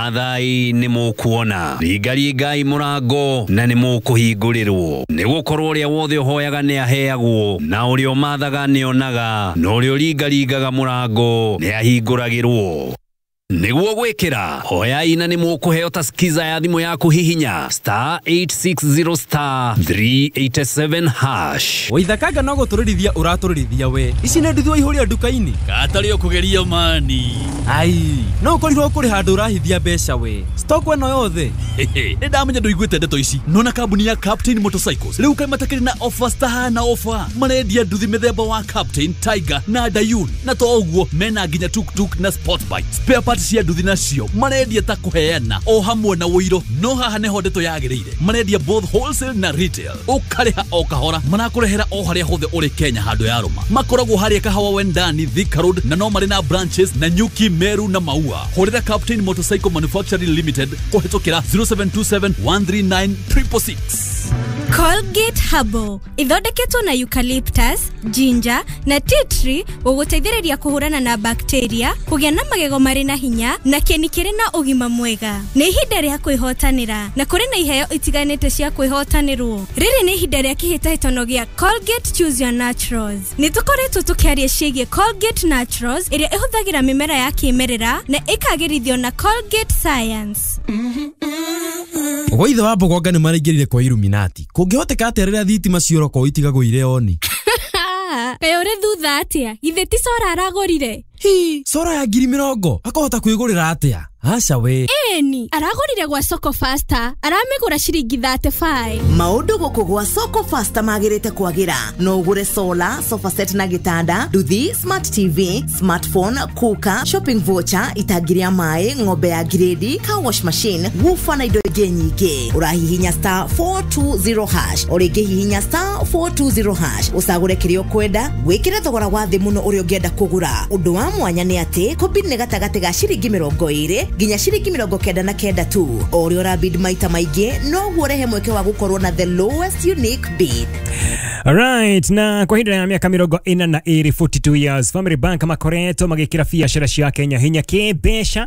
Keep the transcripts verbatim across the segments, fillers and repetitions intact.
Athai nĩ mũkuona, ringaringai mũrango na nĩ mũkũhingũrĩrwo, nĩ gũkorwo ũrĩa wothe ũhoyaga nĩ aheagwo, na ũrĩa ũmathaga nĩ onaga, na ũrĩa ũringaringaga mũrango nĩ ahingũragĩrwo. Nĩguo gwĩkĩra hoyai na nĩ mũkũheo ta skiza ya thimũ yaku, hihinya star eight six zero star three eight seven hash. Waithakanga no gũtũrĩrithia ũratũrĩrithia we. Ici nĩ nduthi waihũria nduka-inĩ. Katarĩ ũkũgeria mani. Ai, no ũkorirwo kũrĩ handũ ũrahithia mbeca we. Stock ĩno yothe. Nĩ ndamenya ndũiguĩte ndeto ici. Nona kambuni ya Captain Motorcycles rĩu kaĩ matakĩrĩ na offers tahana offer. Marendia nduthi mĩthemba wa Captain, Tiger na Dayun, na to ũguo mena nginya tuktuk na sport bike. Spare parts cia nduthi nacio marendia ta kũheana o hamwe na ũiro. No haha nĩho ndeto yagĩrĩire, marendia both wholesale na retail, ũkarĩha o kahora, marakũrehera o harĩa hothe ũrĩ Kenya handũ ya rũma. Makoragwo harĩa Kahawa Wendani, Thika Road, na no marĩ na branches na Nyuki, Meru na Maua. Hũrĩra Captain Motorcycle Manufacturing Limited kũhĩtũkĩra zero seven two seven one three nine triple six. Colgate Herbal ithondeketwo na eucalyptus, ginger na tea tree gũgũteithĩrĩria kũhũrana na bacteria, kũgĩa na magego marĩ na hinya na kĩni kĩrĩ na ũgima mwega. Nĩ ihinda rĩa kwĩhotanĩra na kũrĩ na iheo itiganĩte cia kwĩhotanĩrwo. Rĩrĩ nĩ ihinda rĩa kĩhĩtahĩtano gĩa Colgate Choose Your Naturals. Nĩ tũkoretwo tũkĩaria ciĩgiĩ Colgate Naturals ĩrĩa ĩhũthagĩra mĩmera ya kĩmerera na ĩkagĩrithio na Colgate Science. Gwaithe wa Mbogonga nĩ maraingĩrire kwa Illuminati. Kũngĩhoteka atĩa rĩrĩa thitima cioroko itigagwo irĩ oni? Kaĩ ũrĩ thutha atĩa? Githĩ ti Sora aragũrire? Hi, Sora ya ngiri mĩrongo akahota kwĩgũrĩra atĩa? Aca we. Ĩni, aragũrire gwa Soko Faster, aramĩgũra ciringi thirty five. Maũndũ gũkũ gwa Soko Faster magĩrĩte kwagĩra. No ũgũre solar, sofa set na gĩtanda, nduthi, smart T V, smartphone, cooker, shopping voucher, itangi rĩa maĩ, ng'ombe ya grade, car wash machine, woofer na indo ingĩ nyingĩ. Ũrahihinya star four two zero hash, o rĩngĩ hihinya star four two zero hash, ũcagũre kĩrĩa ũkwenda, wĩkĩre thogora wa thĩ mũno ũrĩa ũngĩenda kũgũra. Ũndũ wa mwanya nĩ atĩ kũbid nĩ gatagatĩ ga ciringi mĩrongo ĩrĩ nginya ciringi mĩrongo kenda na kenda tu. O ũrĩa ũrabid maita maingĩ noguo ũrehe mweke wa gũkorwo na the lowest unique bid. Alright, na kwa ihinda rĩa mĩaka mĩrongo ĩna na ĩrĩ, forty two years, Family Bank makoretwo magĩkĩra biacara cia Kenya hinya kĩmbeca,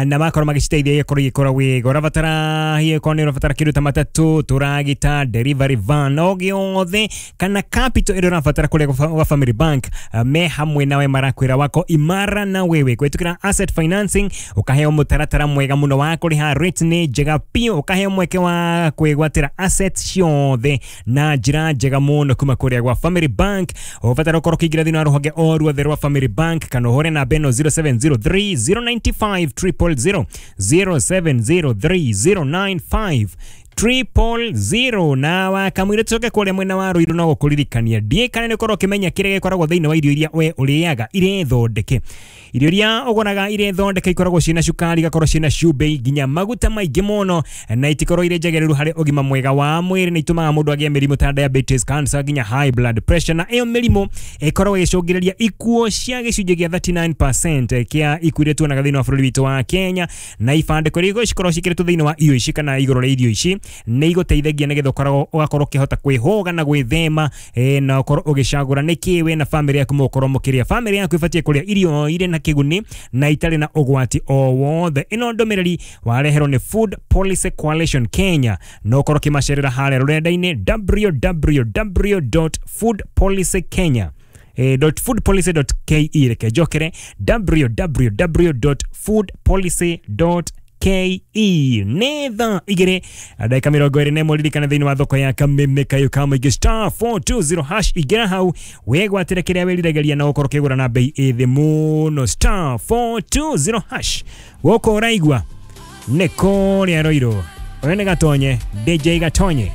na makorwo magĩciteithia gĩkorwo igĩkũra wega. Ũrabatara hihi korwo nĩ ũrabatara kĩndũ ta matatũ, tũragita, delivery van, o gĩothe kana capital ĩrĩa ũrabatara kũrĩa gwa Family Bank, me hamwe nawe marakwĩra wako imara na wewe. Kũhĩtũkĩra asset financing ũkaheo mũtaratara mwega mũno wa kũrĩha, rate nĩ njega biũ, ũkaheo mweke wa kwĩgwatĩra assets ciothe na njĩra njega mũno kuma kũrĩa gwa Family Bank. Ũbatara ũkorwo ũkĩingĩra thĩinĩ wa rũhonge o ruothe rwa Family Bank kana ũhũre namba ĩno zero seven zero three zero nine five triple zero, zero seven zero three zero nine five triple zero. Na wakamwire tucoke kũrĩa mwena wa Ruiru no gũkũririkania ndiĩ kana nĩ ũkorwo ũkĩmenya kĩrĩa gĩkoragwo thĩinĩ wa irio iria we ũrĩaga irĩ thondeke. Irio iria ũgũraga irĩ thondeke ikoragwo ciĩna cukari, igakorwo ciĩna cumbĩ nginya maguta maingĩ mũno, na itikorwo irĩ njagĩrĩru harĩ ũgima mwega wa mwĩrĩ, na itũmaga mũndũ agĩe mĩrimũ ta diabetes, cancer nginya high blood pressure. Na ĩyo mĩrimũ ĩkoragwo ĩgĩcũngĩrĩria ikuũ cia gĩcunjĩ gĩa thirty nine percent kĩa ikuũ iria tuonaga thĩinĩ wa bũrũri witũ wa Kenya. Na ibandĩko iria cikoragwo ciĩkĩrĩtwo thĩinĩ wa irio ici kana igũrũ rĩa irio ici nĩ igũteithagia nĩgetha ũkoragwo ũgakorwo ũkĩhota kwĩhũga na gwĩthema, eh, na ũkorwo ũgĩcagũra nĩkĩ we na family yaku mũgũkorwo mũkĩrĩa. Family yaku ĩbatiĩ kũrĩa irio irĩ na kĩguni na itarĩ na ũgwati o wothe. Ĩno ndũmĩrĩri wareherwo nĩ Food Policy Coalition Kenya, no ũkorwo ũkĩmacerera harĩa rũrenda-inĩ w w w dot food policy kenya dot food policy dot k e. Reke njokere w w w dot food policy dot k e. Nĩ thaa igĩrĩ ndagĩka mĩrongo ĩrĩ na ĩmwe. Ririkana thĩinĩ wa thoko ya Kameme kayũ ka mũingĩ star four two zero hash, ingĩra hau wĩgwatĩre kĩrĩa wĩriragĩria na ũkorwo ũkĩgũra na bei ĩ thĩ mũno. Star four two zero hash. Gũkũ ũraigua nĩ kũrĩa Ruiru. Ũyũ nĩ Gatonye, D J Gatonye.